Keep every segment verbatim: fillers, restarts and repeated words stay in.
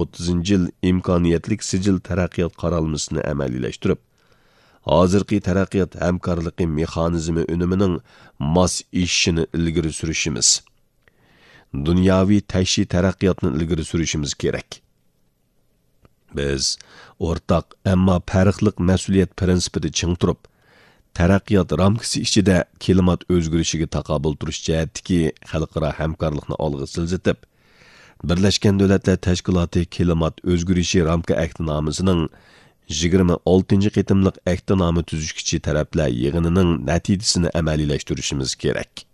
ئوتتۇزىنچى يىل ئىمكانىيەتلىك سىجىل تەرەققىيات قارالمىسىنى ئەمەلىيلەشتۈرۈپ، ھازىرقى تەرەققىيات ھەمكارلىقى مېخانىزمى ئۈنۈمىنىڭ ماس ئېشىشىنى ئىلگىرى سۈرۈشىمىز، دۇنياۋى تەكشى تەرەققىياتنى ئىلگىرى سۈرۈشىمىز كېرەك. بىز ئورتاق، ئەمما پەرقلىق مەسئۇلىيەت پىرىنسىپىدا چىڭ تۇرۇپ، تەرەققىيات رامكىسى ئىچىدە كىلىمات ئۆزگىرىشىگە تاقابىل تۇرۇش جەھەتتىكى خەلقئارا ھەمكارلىقنى ئالغا سىلجىتىپ، بىرلەشكەن دۆلەتلەر تەشكىلاتى كىلىمات ئۆزگىرىشى رامكا ئەھدىنامىسىنىڭ يىگىرمە ئالتىنچى قېتىملىق ئەھدىنامە تۈزۈشكۈچى تەرەپلەر يىغىنىنىڭ نەتىجىسىنى ئەمەلىيلەشتۈرۈشىمىز كېرەك.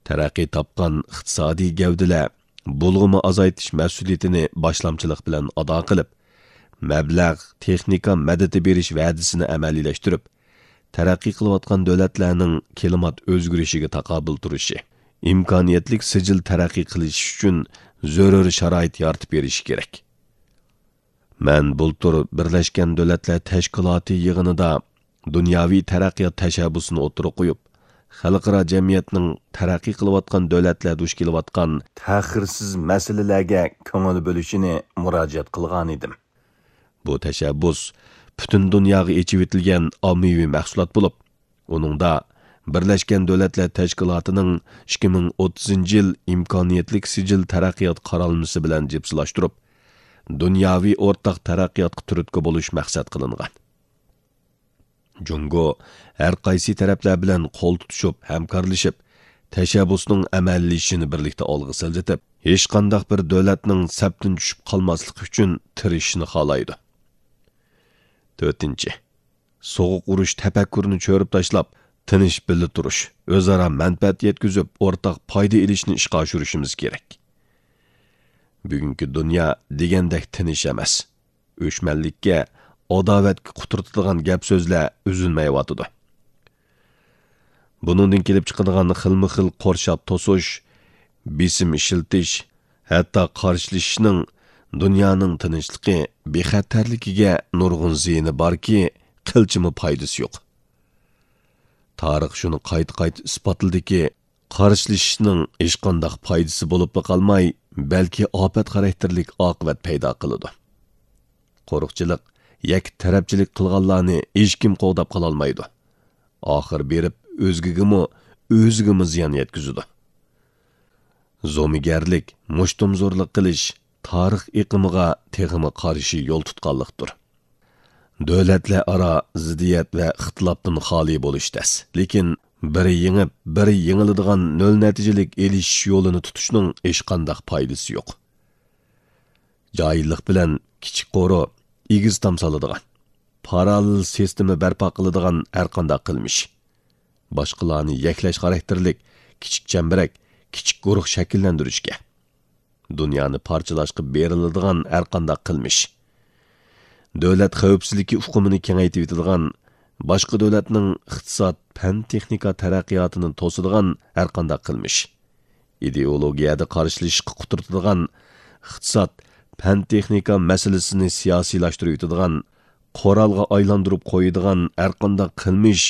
تەرەققىي تاپقان ئىقتىسادىي گەۋدىلەر بۇلغىما ئازايتىش مەسئۇلىيىتىنى باشلامچىلىق بىلەن ئادا قىلىپ، مەبلەغ، تېخنىكا مەدىتى بېرىش ۋەدىسىنى ئەمەلىيلەشتۈرۈپ، تەرەققىي قىلىۋاتقان دۆلەتلەرنىڭ كىلىمات ئۆزگىرىشىگە تاقابىل تۇرۇشى، ئىمكانىيەتلىك سىجىل تەرەققىي قىلىشى ئۈچۈن زۆرۈر شارائىت يارىتىپ بېرىشى كېرەك. مەن بۇلتۇر بىرلەشكەن دۆلەتلەر تەشكىلاتى يىغىنىدا دۇنياۋى تەرەققىيات تەشەببۇسىنى ئوتتۇرىغا قويۇپ، خەلقئارا جەمئىيەتنىڭ تەرەققىي قىلىۋاتقان دۆلەتلەر دۇچ كېلىۋاتقان تەخىرسىز مەسىلىلەرگە كۆڭۈل بۆلۈشىنى مۇراجىئەت قىلغانىدىم. بۇ تەشەببۇس پۈتۈن دۇنياغا ئېچىۋېتىلگەن ئاممىۋى مەھسۇلات بولۇپ، ئۇنىڭدا بىرلەشكەن دۆلەتلەر تەشكىلاتىنىڭ ئىككى مىڭ ئوتتۇزىنچى يىل ئىمكانىيەتلىك سىجىل تەرەققىيات قارالمىسى بىلەن جىپسىلاشتۇرۇپ، دۇنياۋى ئورتاق تەرەققىياتقا تۈرتكە بولۇش مەقسەت قىلىنغان. جۇڭگو ھەر قايسى تەرەپلەر بىلەن قول تۇتۇشۇپ، ھەمكارلىشىپ، تەشەببۇسنىڭ ئەمەلىيلىشىشىنى بىرلىكتە ئالغا سىلجىتىپ، ھېچقانداق بىر دۆلەتنىڭ سەپتىن چۈشۈپ قالماسلىقى ئۈچۈن تىرىشىشنى خالايدۇ. تۆتىنچى، سوغۇق ئۇرۇش تەپەككۇرىنى چۆرۈپ تاشلاپ، تىنچ بىللە تۇرۇش، ئۆزئارا مەنپەئەت يەتكۈزۈپ، ئورتاق پايدا ئېلىشنى ئىشقا ئاشۇرۇشىمىز كېرەك. بۈگۈنكى دۇنيا دېگەندەك تىنچ ئەمەس. ئۆچمەنلىككە، ئاداۋەتكە قۇترىتىدىغان گەپ-سۆزلەر ئۈزۈلمەيۋاتىدۇ. بۇنىڭدىن كېلىپ چىقىدىغان خىلمۇ خىل قورشاپ توسۇش، بېسىم ئىشلىتىش، ھەتتا قارشىلىشىشنىڭ دۇنيانىڭ تىنچلىقى، بىخەتەرلىكىگە نۇرغۇن زىيىنى باركى، قىلچىمۇ پايدىسى يوق. تارىخ شۇنى قايتا-قايتا ئىسپاتلىدىكى، قارشىلىشىشنىڭ ھېچقانداق پايدىسى بولۇپلا قالماي، بەلكى ئاپەت خاراكتېرلىك ئاقىۋەت پەيدا قىلىدۇ. قورۇقچىلىق، يەككە تەرەپچىلىك قىلغانلارنى ھېچكىم قوغداپ قالالمايدۇ. ئاخىر بېرىپ ئۆزگىگىمۇ، ئۆزىگىمۇ زىيان يەتكۈزىدۇ. زومىگەرلىك، مۇشتۇمزورلۇق قىلىش تارىخ ئېقىمىغا تېخىمۇ قارشى يول تۇتقانلىقتۇر. دۆلەتلەر ئارا زىددىيەت ۋە ئىختىلاپتىن خالىي بولۇش تەس، لېكىن بىرى يېڭىپ، بىرى يېڭىلىدىغان نۆل نەتىجىلىك ئېلىشىش يولىنى تۇتۇشنىڭ ھېچقانداق پايدىسى يوق. جاھىللىق بىلەن كىچىك قورۇ، ئېگىز تام سالىدىغان، پاراللېل سىستېما بەرپا قىلىدىغان ھەرقانداق قىلمىش، باشقىلارنى يەكلەش خاراكتېرلىك كىچىك چەمبىرەك، كىچىك گۇرۇھ شەكىللەندۈرۈشكە، دۇنيانى پارچىلاشقا بېرىلىدىغان ھەرقانداق قىلمىش، دۆلەت خەۋپسىزلىكى ئۇقۇمىنى كېڭەيتىۋېتىدىغان، باشقا دۆلەتنىڭ ئىقتىساد، پەن، تېخنىكا تەرەققىياتىنى توسىدىغان ھەرقانداق قىلمىش، ئىدېئولوگىيەدە قارشىلىشىشقا قۇترىتىدىغان، ئىقتىساد، پەن، تېخنىكا مەسىلىسىنى سىياسىيلاشتۇرۇۋېتىدىغان، قورالغا ئايلاندۇرۇپ قويىدىغان ھەرقانداق قىلمىش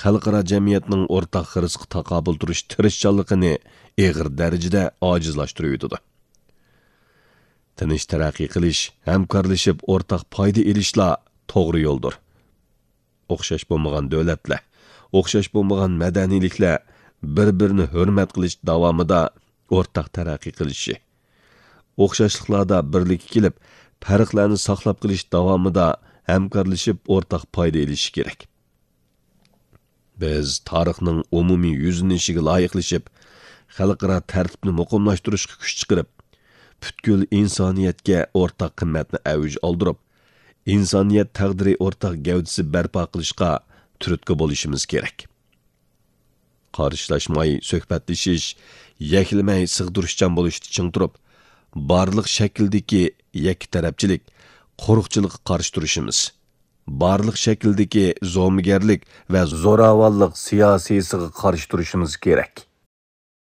خەلقئارا جەمئىيەتنىڭ ئورتاق خىرىسقا تاقابىل تۇرۇش تىرىشچانلىقىنى ئېغىر دەرىجىدە ئاجىزلاشتۇرۇۋېتىدۇ. تىنچ تەرەققىي قىلىش، ھەمكارلىشىپ ئورتاق پايدا ئېلىشلا توغرا يولدۇر. ئوخشاش بولمىغان دۆلەتلەر، ئوخشاش بولمىغان مەدەنىيلىكلەر بىر-بىرىنى ھۆرمەت قىلىش داۋامىدا ئورتاق تەرەققىي قىلىشى، ئوخشاشلىقلاردا بىرلىككە كېلىپ، پەرقلەرنى ساقلاپ قېلىش داۋامىدا ھەمكارلىشىپ ئورتاق پايدا ئېلىشى كېرەك. بىز تارىخنىڭ ئومۇمىي يۈزلىنىشىگە لايىقلىشىپ، خەلقئارا تەرتىپنى مۇقىملاشتۇرۇشقا كۈچ چىقىرىپ، پۈتكۈل ئىنسانىيەتكە ئورتاق قىممەتنى ئەۋج ئالدۇرۇپ، ئىنسانىيەت تەقدىرى ئورتاق گەۋدىسى بەرپا قىلىشقا تۈرتكە بولۇشىمىز كېرەك. قارشىلاشماي سۆھبەتلىشىش، يەكلىمەي سىغدۇرۇشچان بولۇشتا چىڭ تۇرۇپ، بارلىق شەكىلدىكى يەككە تەرەپچىلىك، قورۇقچىلىققا قارشى تۇرۇشىمىز، بارلىق شەكىلدىكى زومىگەرلىك ۋە زوراۋانلىق سىياسىيسىغا قارشى تۇرۇشىمىز كېرەك.